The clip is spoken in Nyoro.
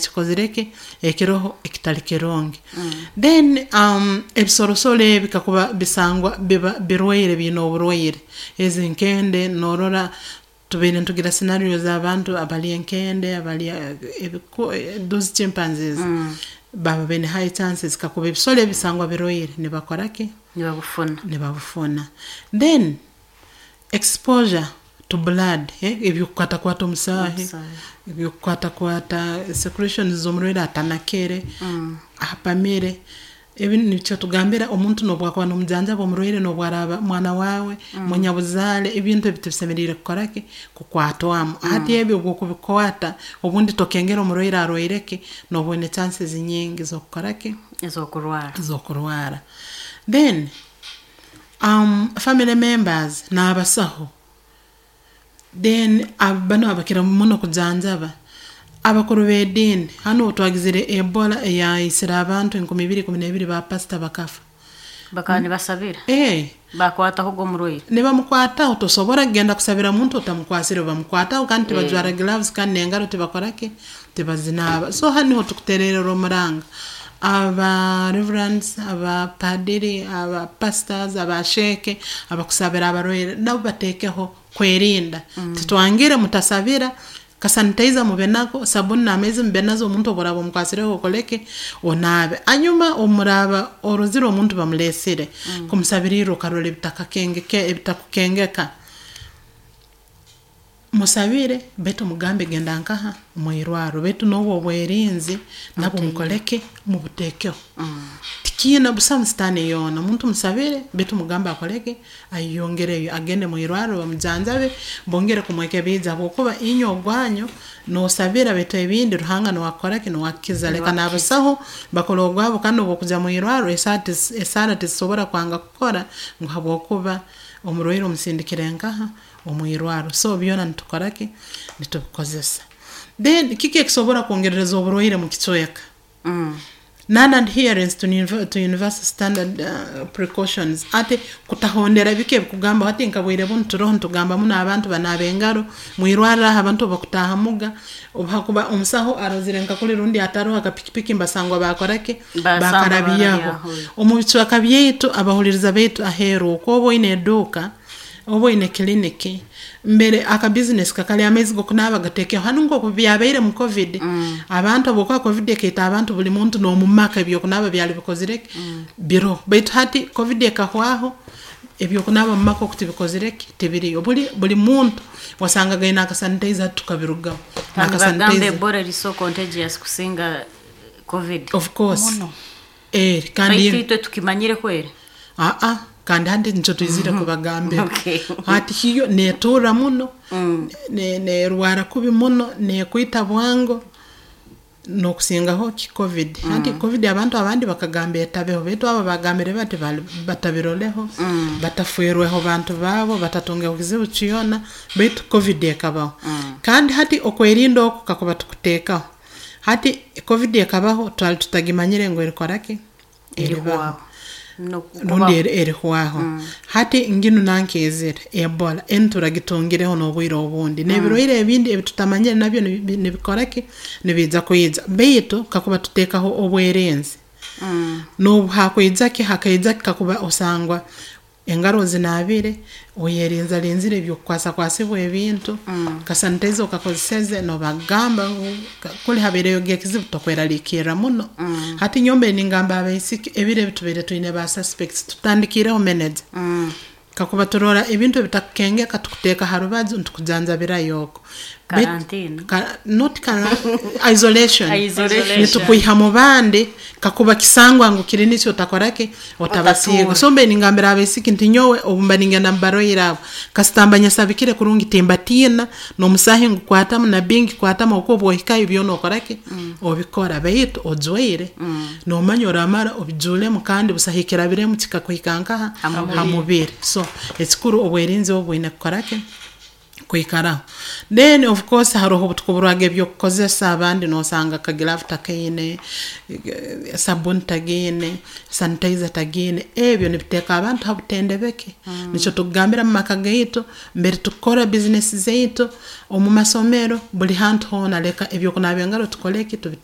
Ekikozire ki ekiroho ekitali kirungi. Then ebisorosoro ebi kakuba bisangwa biba birwaire, biine oburwaire, ezi nkende noorora tubaire nitugira scenarios, abantu abalya enkende, abalya those chimpanzees, baba baine high chances kakuba ebisoro ebi bisangwa birwaire, nibakora ki? Nibabufuna. Nibabufuna. Then exposure to blood, ebyokukwatakwata omusaahi, ebyokukwatakwata secretions z'omurwaire atanakere, apamire, ebi nikyo tugambira omuntu n'obu akuba n'omujanjaba omurwaire, n'obu araaba mwana waawe, munyabuzaale, ebintu ebi tibisemeriire kukora ki? Kukwatwamu. Hati ebi obu okubikwata, obundi tokengera omurwaire arwaire ki, nooba oine chances nyingi z'okukora ki? Ez'okurwara. Z'okurwara. Then family members n'abasaho, then banu abakira muno kujanjaba, abakuru b'ediini, hanu obu twagizire Ebola eyaisire abantu 2012, ba pastor bakafa. Bakaba nibasabira. Eh. Bakwataho omurwaire. Nibamukwataho. Tosobora kugenda kusabira muntu otamukwasire, bamukwataho, kandi tibajwara gloves, kandi n'engaro tibakora ki? Tibazinaaba. So hanu niho tukutererera omuranga aba reverends, abapadiri, aba pastors, abasheeke abakusabira abarwaire, nabo bateekeho kwerinda. Titwangire mutasabira, kasanitizer mube nako, sabuni n'amaizi mube nazo, omuntu obu oraaba omukwasireho okoleki? Onaabe. Hanyuma obu muraaba orozire omuntu bamuleesire, kumusabiriirra okarora ebitakukengeka, musabire baitu mugambe genda nkaha? Mwirwarro. Baitu n'obwo obwerinzi nabwo mukoleki? Mubuteekeho. Tikiina busamu sitaani yoona, omuntu musabire baitu mugambe akoleki? Ayeyongereyo, agende mwirwarro bamujanjabe, bongere kumwekebiija, habwokuba inywe ogwanyu noosabira, baitu ebindi Ruhanga nuwe akukora ki? Nuwe akukiza. Leka n'abasaho bakole ogwabo, kandi obu okujya mwirwarro, esaara tizisobora kwanga kukora ngu habwokuba omurwaire omusindikire nkaha? Omwirwarro. So byona nitukora ki? Nitubikozesa. Then kiki ekisobora kwongerereza oburwaire mu kicweka? Non adherence to universal standard precautions, ati kutahondera biki ebikugamba. Hati nka bwire bunu turoho nitugamba muno abantu banaaba engaro mwirwarro, aho abantu obu bakutaahamuga, obu hakuba omusaho arozire nka kuli rundi ataroho akapikipiki, mbasangwa bakora ki? Bakarabyaho. Omu bicweka byaitu, abahuliriza baitu aheeru okwo, oba oine eduuka oba oine kiliniki, mbere aka business kakali, amaizi g'okunaaba gateekeho. Hanu nk'oku byabaire mu COVID, abantu habwokuba COVID ekaita abantu, buli muntu n'omu maka ebyokunaaba byali bikozire ki? Biroho. Baitu hati COVID ekahwaho, ebyokunaaba mu maka oku tibikozire ki? Tibiriyo. Buli muntu wasangaga aine akasanitizer, hati tukabirugaho. Kandi bagamba Ebola eri so contagious kusinga COVID. Of course. Kandi baitu itwe tukimanyire kweri. Aa, kandi hati nikyo twizire kubagambira. Hati hiyo neeturra muno, neerwara kubi muno, neekwita bwango n'okusingaho ki? COVID. Hati COVID abantu abandi bakagamba etabeho, baitu abo bagambire bati batabiroleho, batafwerweho bantu baabo, batatungeho kizibu kyona, baitu COVID ekabaho. Kandi hati okwerinda oku kakuba tukuteekaho, hati COVID ekabaho twali tutagimanyire ngu erikora ki? Eribaho rundi erihwaho. Hati nginu nankeezire Ebola, enu turagitungireho n'obwire obundi, n'ebirwaire ebindi ebitutamanyire nabyo nibikora ki? Nibiija kwija. Baitu kakuba tuteekaho obwerinzi, n'obu hakwija ki, hakaija ki, kakuba osangwa engaro ozinaabire, oyerinzarinzire eby'okukwasakwasibwa ebintu, kasanitizer okakozeseze, nobagamba ngu kuli habaireyo ekizibu, tokweraliikirra muno. Hati nyowe mbaire ningamba abaisiki, ebiro ebi tubaire twine ba suspects, tutandikiireho manager. Kakuba turora ebintu ebitakukengeka, tukuteeka ha rubaju nitukujanjabirayo oko. Quarantine. Not isolation. Isolation. Nitukwiha mu bandi kakuba kisangwa ngu kiri nikyo otakora ki? Otabasiiga. So mbaire ningambira abaisiki nti nyowe obu mba ningenda mu barwaire abo, kasita mba nyesabikire kurungi, timbatiina, n'omusaahi ngukwatamu na bingi kwatamu, habwokuba obu ohikayo byona okora ki? Obikora, baitu ojwaire, noomanya oramara obijuulemu, kandi busaho ekirabiremu kikakuhika nkaha? Ha mubiri. So ekikuru obwerinzi obu bwine kukora ki? Kwikaraho. Then of course haroho obutukuburwaga ebyokukozesa, abandi noosanga akaglove takaine, sabuni tagiine, sanitizer tagiine, ebyo nibiteeka abantu ha butendebeke. Nikyo tukugambira mu maka gaitu, mbere tukukora business zaitu, omu masomero, buli hantu hoona, leka ebyokunaaba engaro tukole ki? Tubiteekeho.